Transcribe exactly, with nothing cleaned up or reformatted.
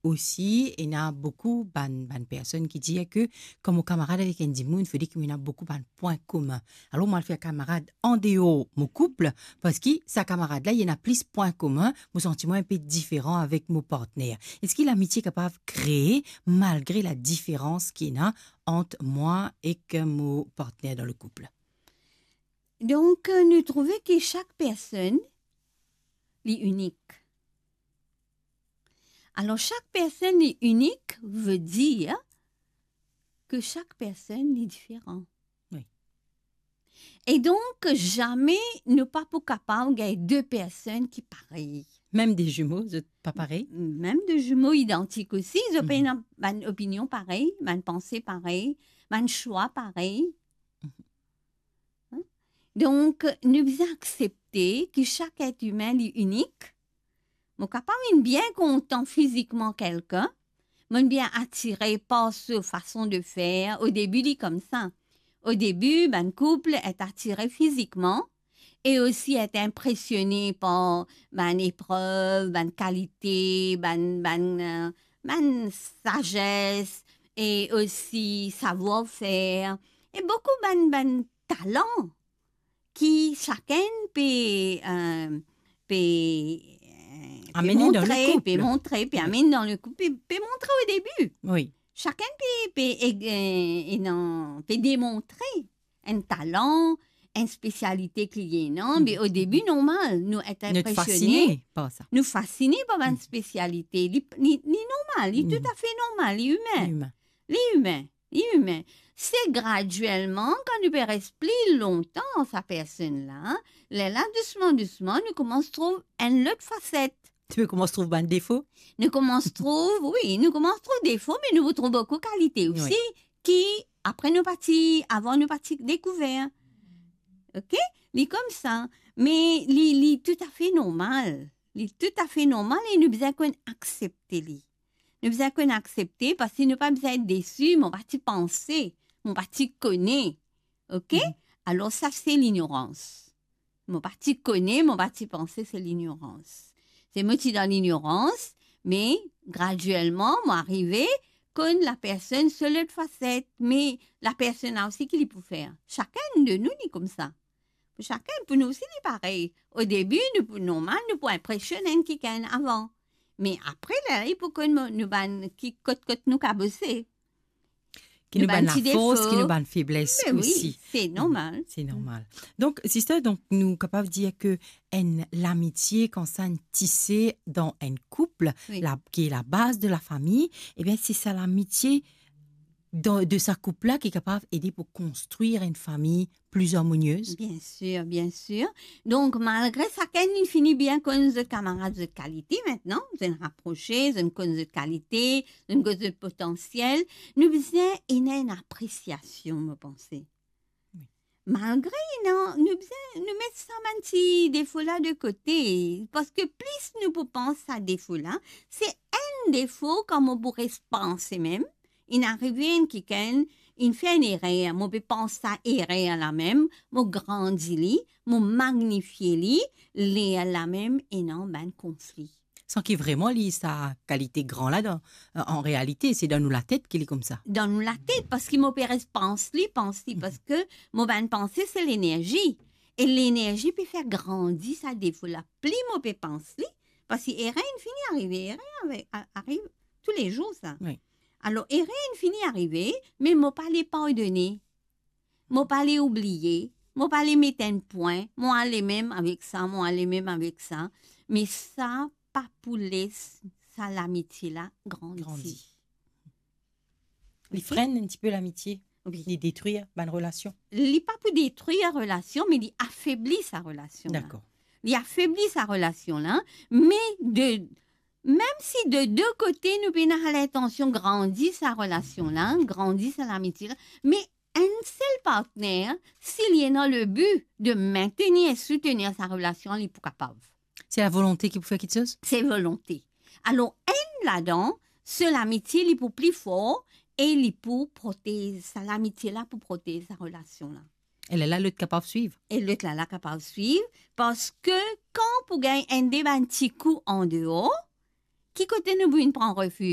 osi, ena boukou bann, bann personn ki dir ke, kan mo kamarad avek enn dimoun, fode ki mo ena boukou bann pwin komin. Alor, mo al fer kamarad andeor mo koup, parski sa kamarad la, li ena plis pwin komin, mo santi mwa inpe diferan avek mo partner. Eski lamitie kapav kree, malgre ladiferans ki ena ant mwa ek mo partner dan le koup? Donk, nou trouve ki sak personn, li inik. Alor, sak personn li inik, ve dir ke sak personn li diferan. Wi. E donk, zame nou pa pou kapav gagn de personn ki parey. Mem de zimo, zot pa parey? M-, mem de zimo idantik osi, zot pa Mhm. ena bann opinion parey, bann panse parey, bann swa parey. Mhm. Hein? Donk, nou bizin aksepte ki sak et imin li inik. Mo kapav inn bien kontan fizikman kelkenn, mo bien atire par so fason de fer. Odebi, li koumsa. Odebi, bann koup et atire fizikman e osi et inpresione par bann eprev, bann kalite, bann, bann, euh, bann sazes e osi savoir-faire e boukou bann, bann talan ki sakenn pe, euh, pe, euh, pe Amenn dan le montre, koup. Pe montre, pe Mhm. amenn dan le koup, pe, pe montre odebi. Wi. Sakenn pe, pe, euh, ena, pe demontre enn talan, enn spesialite ki li ena, Mhm. me odebi, Mhm. normal, nou et Nou inpresione. Fasine par sa. Nou fasine par bann Mhm. spesialite. Li, li, li normal, li Mhm. toutafe normal, li imin. Imin. Li imin. Li imin. Se gradielman, kan nou pe res pli lontan sa personn la, lerla dousman, dousman, nou koumans trouv enn lot faset. Nou koumans trouv bann defo? Nou koumans trouv, wi, nou koumans trouv defo, me nou trouv boukou kalite Wi. osi, ki apre nou pa ti, avan nou pa ti dekouver. Ok? Li koumsa. Me li, li toutafe normal. Li toutafe normal e nou bizin konn aksepte li. Nou bizin konn aksepte, parski nou pa bizin et desi, mo pa ti panse, mo pa ti kone. Ok? Mhm. Alor sa se lignorans. Mo pa ti kone, mo pa ti panse, se lignorans. Se mo ti dan lignorans, me gradielman, mo arive konn lapersonn so lot faset, me lapersonn la osi ki li pou fer. Sakenn de nou, li koumsa. Pou sakenn, pou nou osi, li parey. Odebi, nou pou, normal, nou pou inpresionn enn kikenn avan. Me apre, la, li pou konn nou bann ki, kot, kot nou kabose. Ki nou bann lafors, ki nou bann febles osi. Me wi, se normal. Se normal. Donk, sister, donk, nou kapav dir ke enn lamitie, kan sa inn tise dan enn koup, Wi. la, ki labaz de lafami, ebien, se sa lamitie dan, de sa koup la ki kapav ede pou konstrir enn fami pli armoniez? Bien sir, bien sir. Donk, malgre sakenn inn fini bien konn zot kamarad, zot kalite, mintnan, zot inn raprose, zot inn konn zot kalite, zot inn konn zot potansiel, nou bizin ena enn apresiasion, mo panse. Wi. Malgre, non, nou bizin, nou met sa bann ti defo la de kote, parski plis nou pou pans sa defo la, se enn defo kan mo pou res panse mem, inn arive enn kikenn, inn fer enn erer, mo pe pans sa erer la mem, mo grandi li, mo magnifie li, lerla mem ena bann konfli. San ki vreman li sa kalite gran la dan, euh, an realite, se dan nou latet ki li koumsa. Dan nou latet, parski mo pe res pans li, pans li, Mhm. parski mo bann panse se lenerzi. E lenerzi pe fer grandi sa defo la. Pli mo pe pans li, parski erer inn fini arive, erer ave-, a-, ariv toulezour sa. Wi. Alor, erer inn fini arive, me mo pa le pardone. Mo pa le oubliye, mo pa le met enn pwin, mo ale mem avek sa, mo ale mem avek sa. Me sa pa pou les sa lamitie la grandi. Grandi. Li Ok? frenn enn tipe lamitie. Wi. Li detrir bann relasion. Li pa pou detrir relasion, me li afebli sa relasion la. Dakor. Li afebli sa relasion la, me de, mem si de de kote nou pena lintansion grandi sa relasion la, grandi sa lamitie la, me enn sel partner, si li ena le bi de maintenir e soutenir sa relasion, li pou kapav. Se lavolonte ki pou fer kiksoz? Se volonte. Alor, enn ladan, so lamitie, li pou pli for e li pou protez, sa lamitie la pou protez sa relasion la. E lerla lot kapav swiv. E lot la, la kapav swiv, parski kan pou gagn enn de bann ti kou andeor, ki kote nou pou vinn pran refiz?